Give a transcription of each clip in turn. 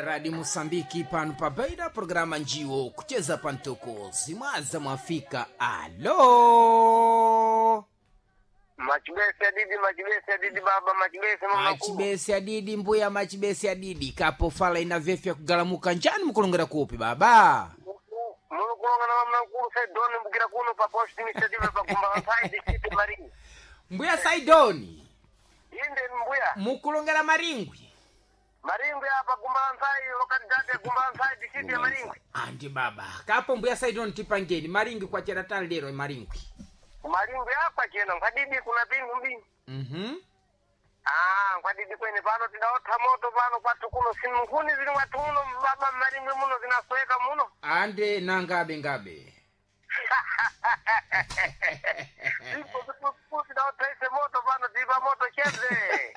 Radi Mosambiki pano pa Beira, programa njiwo kucheza pantoko zimwaza mwafika. Alo Machibese adidi, machibese adidi baba, machibese mama kuu. machibesi adidi mbuya machibesi adidi kapo fala ina vyefya kugalamuka njani mukulongera kupi baba Mulukulonga na mama nkulu Saidoni mbukira kuno pa post initiative pa kumba nsai district Maringi. mbuya Saidoni Inde mbuya. mukulongera Maringwi Maringwi apa kumba nsai localidade ya kumba nsai district ya Maringwi. andi baba kapo mbuya Saidoni tipangeni Maringwi kwa cheratani lero Maringwi. Maringwi apa chena nkadidi kuna pingu mbi. Ah, nkwadidi kwene pano tidaotha moto pano kwathu kuno sinkhuni zili mwathu muno baba Maringwi muno zinasweka muno. Ande nangabe ngabe Zipo zipo tidaotha ise moto pano tipa moto cheze.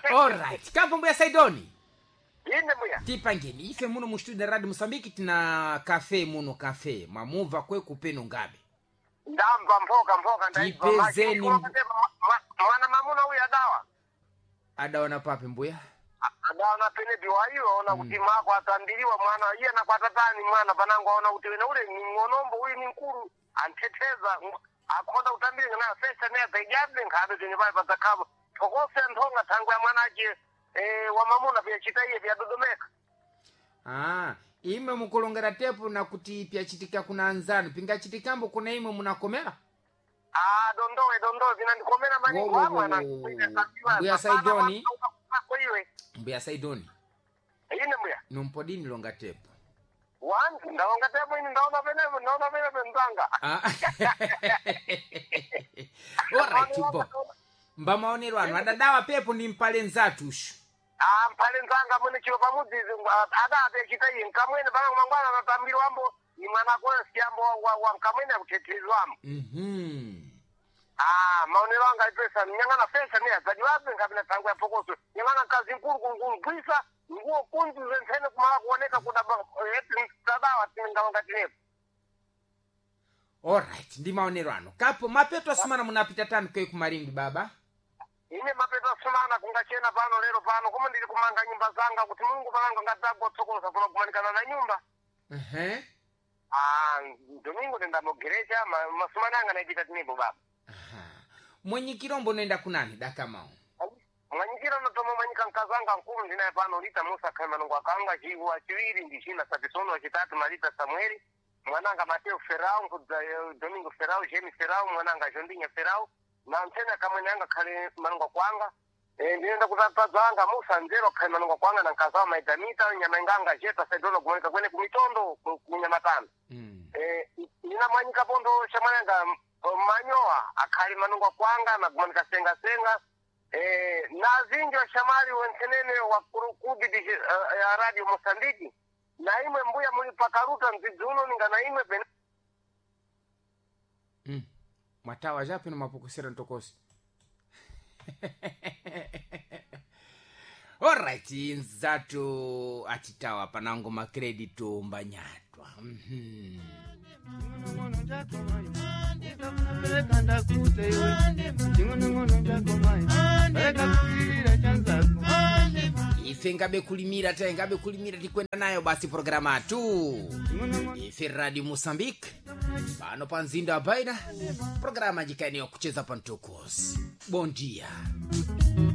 Alright, kapo mbuya Saidoni Inde mbuya. tipangeni ife muno mu studio radio Mosambiki tina kafe muno kafe mwamubva kwekupeno ngabe Ndamva mphoka mphoka ndaibva Tipezeni mwana mamuna uyu adawa adaona papi mbuya adawa na penepi waiyo aona kuti mako atambiriwa mwana iye nakwatatani mwana panango aona kuti wena ule ni ng'onombo uyu ni mkulu antheteza akhonda kutambira nayo sesa naye zaijabe nkhabe zenye pale padzakhavo thokose nthonga thangwe ya mwana ache wa mamuna pyachita iye pyadodomeka. Ah, imwe mukulongera tepo na kuti pyachitika kuna anzanu pingachitikambo kuna imwe munakomera. Ah, dondowe dondowe zinandikomera maningi Wo, wo, wo, wamwana. wo, wo. Mbuya Saidoni. Iwe Mbuya Saidoni ine mbuya numpodini longa tepo. Wantu ndaonga tepo ini ndaona penepo ndaona penepo mzanga. Ah. Alright, bo mbamaonero anu adadawa pepo ndi mpale nzatushu. Ah, mphale nzanga mwene chilo pamudzizi adape chita iye nkamwene panango mangwana anatambiri wambo ni mwana akoyo siyambo wa nkamwene akuthethirizwamo. Ah, maonero anga ipesa nyang'ana fesa ne adzadiwabe nkapina thango ya phokoso nyang'ana mkazi mkulu kungugwisa nguo kunzi zentsene kumala kuoneka kudaba eti tadawa tingalonga tinepo. Alright, ndi maonero anu kapo mapeto asumana munapita tanu kwe kumaringwi baba. Ine mapeto asumana kungachena pano lero pano koma ndili kumanga nyumba zanga kuti Mulungu panango ngadzagwa tsokolosa kuno kumanikana na nyumba. Ehe. Ah, domingo tindamogerecha masumana anga naipita tinepo baba. Aha. Mwenyikirombo noenda kunani dakamao. Mwanyikira notoma mwanyika nkazanga nkulu ndinaye pano lita Musa khaimanungu akanga chiwa chiwiri ndi china Sapisono wachitatu Malita Samueli mwananga Mateo Ferau nkudza Domingo Ferau Jemi Ferau mwananga Jondinya Ferau na ntsena kamwene anga khale manungu kwanga ndinenda kutatadzo anga Musa Nzero khale manungu kwanga na nkazawa Maidamita nyama inganga Jeta Saidolo kumanika kwene kumitondo kunyamatano. Nina mwanyika pondo shamwananga manyowa akhali manungu kwanga na kumanika senga senga na zinji washamali wenthenene wa kurukudi ya radio Mosambiki na imwe mbuya muli pakaruta mdzidzi uno ninga na imwe pene. Mwatawa japi nomapokusera ntokosi. Alright, nzatu achitawa panango makredito mbanyatwa. Ife ngabe kulimira ta ngabe kulimira tikwenda nayo basi programa atu ife radio Mosambiki pano pa mzinda wa Baina, programa jikaeniyo kucheza pantokos. Bom dia.